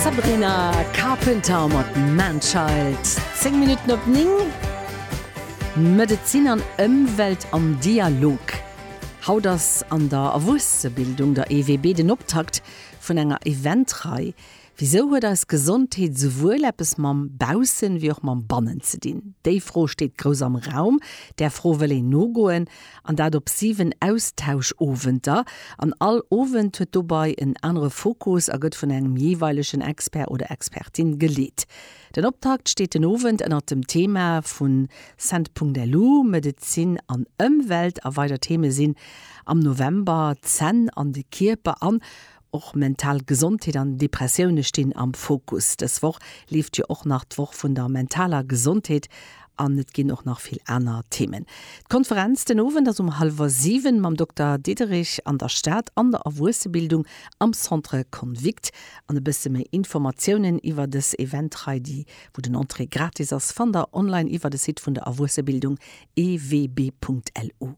D'Sabrina Carpenter mat Manchild. 10 Minutten op 9. Medezin an Ëmwelt am Dialog. Haut ass an der Erwuessebildung, der EWB, den Optakt vun enger Eventrei. Wisou huet eis Gesondheet souwuel eppes mam Baussen wéi och mam Bannen ze dinn? Déi Fro steet grouss am Raum. Där Fro wëll een nogoen, an dat op 7 Austauschowenter. An all Owend huet dobei en anere Fokus a gëtt vun engem jeeweilegen Expert oder Expertin geleet. Den Optakt steet den Owend ënnert dem Thema vu Cent.lu, Medezin an Ëmwelt a weider Theme sinn am November d'Zänn an de Kierper an Och mental Gesondheet an Depressioune stinn am Fokus. Dës Woch leeft jo och nach d'Woch vun der mentaler Gesondheet an et ginn och nach vill aner Themen. D'Konferenz den Owend ass um hallwer 7 mam Dokter Diderich an der Stad an der Erwuessebildung am Centre Convict. An e bësse méi Informatiounen iwwer dës Eventrei, déi wou den Entrée gratis ass, fannt der online iwwer de Site vun der Erwuessebildung ewb.lu.